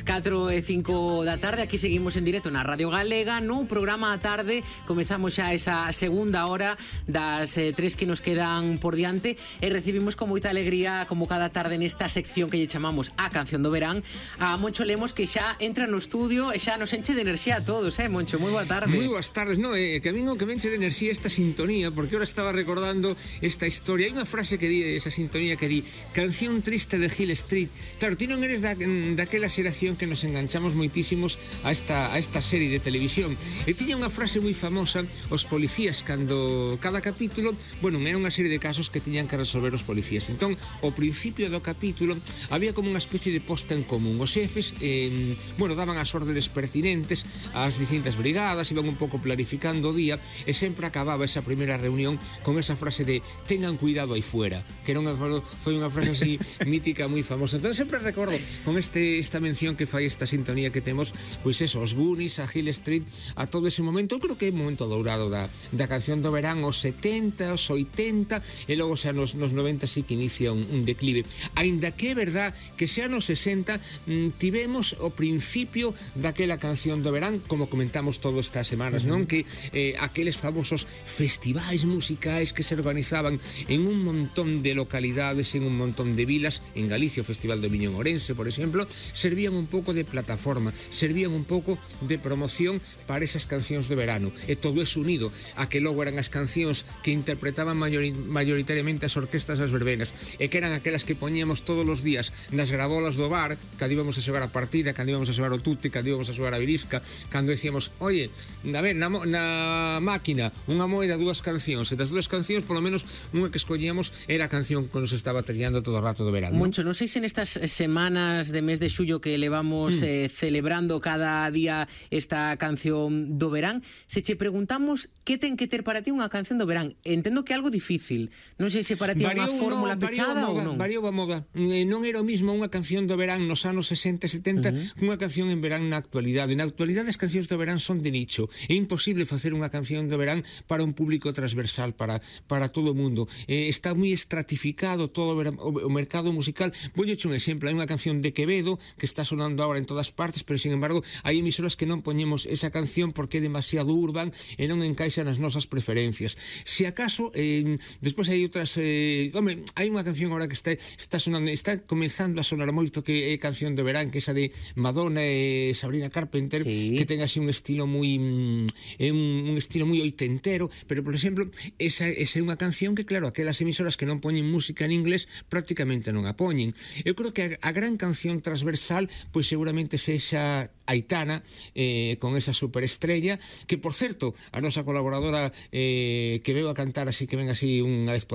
4:05 da tarde, aquí seguimos en directo na Radio Galega, no programa a tarde. Comezamos xa esa segunda hora das 3 que nos quedan por diante e recibimos con moita alegría, como cada tarde, nesta sección que lle chamamos A Canción do Verán, a Moncho Lemos, que xa entra no estudio e xa nos enche de enerxía a todos, Moncho? Moi boa tarde. Moi boas tardes, que a min o que me enche de enerxía esta sintonía, porque ahora estaba recordando esta historia. Hai unha frase que di, esa sintonía que di: canción triste de Hill Street. Claro, ti non eres daquela xeración que nos enganchamos moitísimos a esta serie de televisión. E tiña unha frase moi famosa: os policías, cando cada capítulo, bueno, era unha serie de casos que tiñan que resolver os policías. Entón, ao principio do capítulo había como unha especie de posta en común. Os xefes, daban as órdenes pertinentes ás distintas brigadas, iban un pouco planificando o día, e sempre acababa esa primeira reunión con esa frase de tengan cuidado aí fuera, que era foi unha frase así mítica, moi famosa. Entón sempre recordo con esta mención que fai esta sintonía que temos, pois eso, os Goonies, a Hill Street, a todo ese momento. Eu creo que é un momento dourado da canción do verán, os 70, os 80, e logo xa nos 90 sí que inicia un declive. Aínda que é verdad que xa nos 60 tivemos o principio daquela canción do verán, como comentamos todas estas semanas, non? Que aqueles famosos festivais musicais que se organizaban en un montón de localidades, en un montón de vilas, en Galicia o Festival do Miño en Ourense, por exemplo, servían un pouco de plataforma, servían un pouco de promoción para esas cancións de verano, e todo eso unido a que logo eran as cancións que interpretaban mayoritariamente as orquestas das verbenas, e que eran aquelas que poñíamos todos os días nas grabolas do bar, cando íbamos a xogar a partida, cando íbamos a xogar o tute, cando íbamos a xogar a virisca, cando decíamos, oye, a ver, na máquina unha moeda, dúas cancións, e das dúas cancións, polo menos unha que escollíamos era a canción que nos estaba trillando todo o rato do verano. Moncho, non sei se nestas semanas de mes de xullo que levamos celebrando cada día esta canción do verán, se che preguntamos que ten que ter para ti unha canción do verán, entendo que é algo difícil, non sei se para ti é unha fórmula pechada ou non. Variou a moda, non era o mismo unha canción do verán nos anos 60 e 70 unha canción en verán na actualidade. Na actualidade as cancións do verán son de nicho, é imposible facer unha canción do verán para un público transversal, para todo o mundo. Está moi estratificado todo o mercado musical. Voulle un exemplo, hai unha canción de Quevedo que está sonando agora en todas partes, pero sin embargo hai emisoras que non poñemos esa canción porque é demasiado urban e non encaixa nas nosas preferencias. Se acaso, despois hai outras, hai unha canción agora que está sonando, está comenzando a sonar moito, que é canción de verán, que é esa de Madonna e Sabrina Carpenter, sí, que ten así un estilo moi un estilo moi oitentero, pero por exemplo, esa é unha canción que, claro, aquelas emisoras que non poñen música en inglés prácticamente non a poñen. Eu creo que a gran canción transversal, pois seguramente sexa Aitana, con esa superestrella, que por certo, a nosa colaboradora que veu a cantar así, que ven así unha vez por